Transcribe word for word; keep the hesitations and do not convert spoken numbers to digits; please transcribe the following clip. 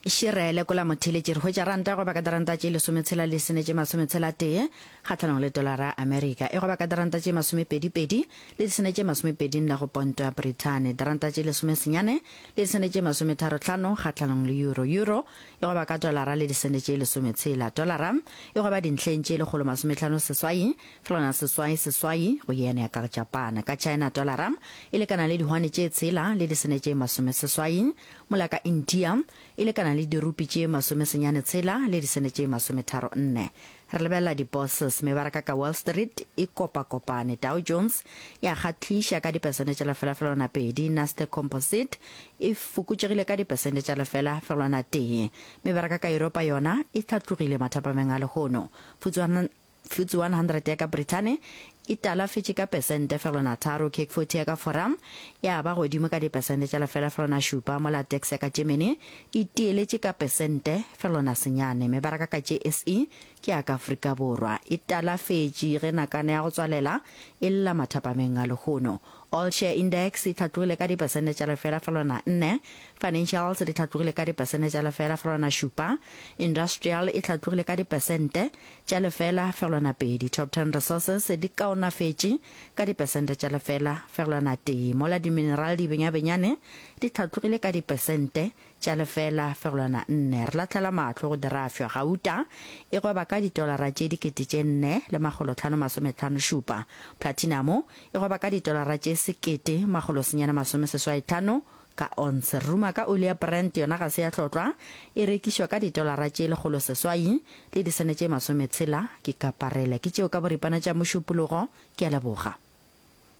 Šire lekola motheeletši re hwetša ranta go ba ka diranta tše lesometshela le sene tše masometshela tee kgahlanong le tolara ya Amerika e goba ka diranta tše masomepedi-pedi le disene tše masomepedi nne go ponto ya Brithani diranta tše lesomesenyane le disene tše masometharo hlano kgahlanong le euro euro e goba ka tolara le disene tše lesometshela tolara e goba dintlheng tše lekgolo masometlhano seswai fegelwana seswai seswai go yen ya ka Japan ka China tolara e lekana le dihwane tše tshela le disene tše masomeseswai mola ka India e lekana le dirupi tše masomesenyane tshela le disene tše masometharo nne. Re lebelela di-bourses, mebaraka ka Wall Street e kopakopane. Dow Jones ya kgahliša ka dipesente tša lefela fegelwana pedi, Nasdaq Composite e fokotšegile ka dipesente tša lefela fegelwana tee. Mebaraka ka Yuropa yona e hlatlogile mathapameng a lehono. F T S E F T S E one hundred ya ka Brithani e talafetše ka pesente fegelwana tharo, CAC forty ya ka Fora ya ba godimo ka dipesente tša lefela fegelwana šupa, mola DAX ya ka Germany e tieletše ka pesente fegelwana senyane. Mebaraka ka J S E ke ya ka Afrika Borwa e talafetše ge nakana ya go tswalela e lla mathapameng a lehono. All Share Index e hlatlogile ka dipesente tša lefela fegelwana nne, financials di hlatlogile ka dipesente tša lefela fegelwana šupa, industrial e hlatlogile ka dipesente tša lefela fegelwana pedi, top ten resources di kaonafetše ka dipesente tša lefela fegelwana tee, mola di-mineral di benyabenyane di hlatlogile ka dipesente tša lefela fegelwana nne. Re lahlela mahlo go dirafša, gauta e gweba ka ditolara tše dikete tše nne le makgolo tlhano masometlhano šupa, platinum e gweba ka ditolara tše sekete makgolo senyane masome seswai tlhano ka ounce. Ruma ka oli ya Brent yona ga se ya hlotlwa, e rekišwa ka ditolara tše lekgolo seswai le disene tše masometshela ke kaparele. Ke tšeo ka boripana tša Mošupologo, ke a leboga.